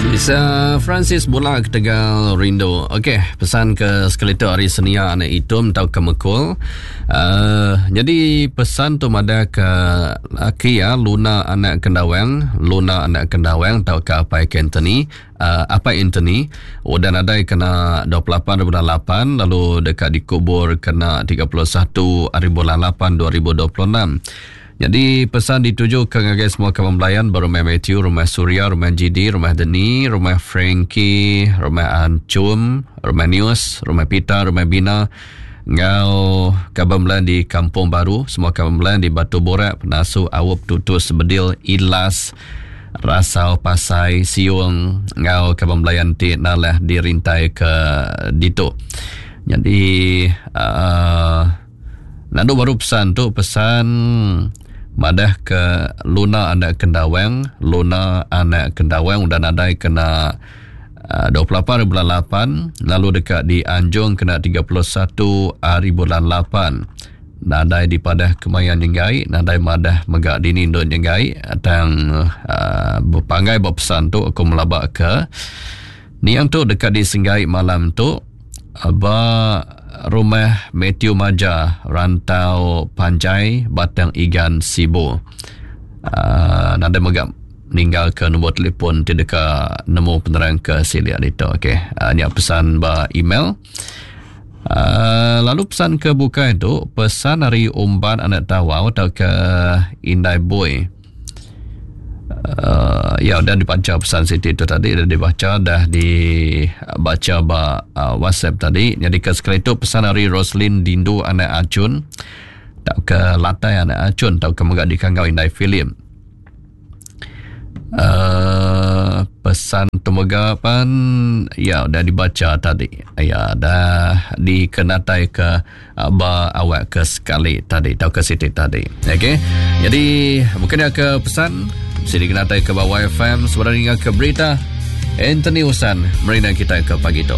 Lisa Francis bula ketegal rindu. Okey, pesan ke sekali tu hari Senia anak Itum tau ke Mekul. Uh, jadi pesan tu madah ke laki ya Luna anak Kendawang, Luna anak Kendawang tau ke Apai Anthony, uh, Apai Anthony udah nadai kena 28 bulan 8 lalu deka dikubur kena 31 hari bulan 8 2026. Nyadi pesan dituju ke ngagai semua kaban belayan ba Rumah Matthew, Rumah Surya, Rumah GD, Rumah Deni, Rumah Frankie, Rumah Anchum, Rumah Nius, Rumah Peter, Rumah Bina enggau kaban belayan di Kampung Baru, semua kaban belayan di Batu Borak, Penasu, Aup, Tutus, Bedil, Ilas, Rasau, Pasai, Siung enggau kaban belayan ti nalah dirintai ke ditu. Nyadi uh, Nandu baru pesan tu pesan madah ke Luna anak Kendawang, Luna anak Kendawang udah nadai kena 28 hari bulan 8 lalu deka dianjung kena 31 hari bulan 8. Nadai dipadah kemaya nyenggai, nadai madah mega dini endur nyenggai tang uh, bepanggai ba pesan tu aku melaba ke niang tu deka disenggai malam tu Ba Rumah Matthew Maja, Rantau Panjai, Batang Igan, Sibu. Uh, nadai mega ninggalka nombor telefon ti deka nemu penerang ke silik ditu. Okey, uh, nya pesan ba email. Uh, lalu pesan ke bukai tu, pesan ari Umban Anak Tawau atau ke Indai Boy. Uh, ya udah dibaca pesan Siti tu tadi dah dibaca dah dibaca ba uh, WhatsApp tadi. Jadi ke sekali tu pesan ari Roslin Dindu anak Acun tak ke Latai anak Acun tau ke mega dikanggau Indai Philip. Uh, pesan tu mega pan ya udah dibaca tadi. Ya dah dikenatai ke ba awak ke sekali tadi tau ke siti tadi. Okey. Jadi bukan dia ke pesan sini kena tai ke bawah FM sebenarnya ke berita Anthony Usan merina kita ke pagi tu.